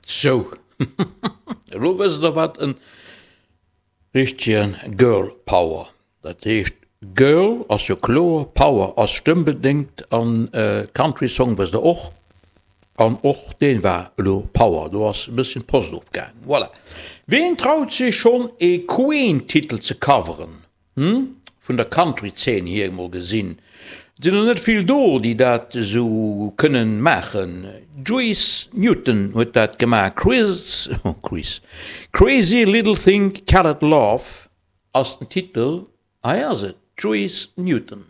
Sou, elo wësst der wat en richtegen Girl Power, dat heescht Girl ass jo kloer, Power ass stëmmbedéngt an Country Song wësst der och, an och deen war elo Power, do ass e bësschen d'Post ofgaang. Voilà. Ween traut sech schonn ee Queen Titel ze coveren? Hm, vun der Country-Zeen hier emol gesinn, et sinn der net vill do, déi dat esou kënnen maachen. Juice Newton huet dat gemaach, Chris, oh Chris, Crazy Little Thing Called Love ass den Titel, hei ass et, Juice Newton.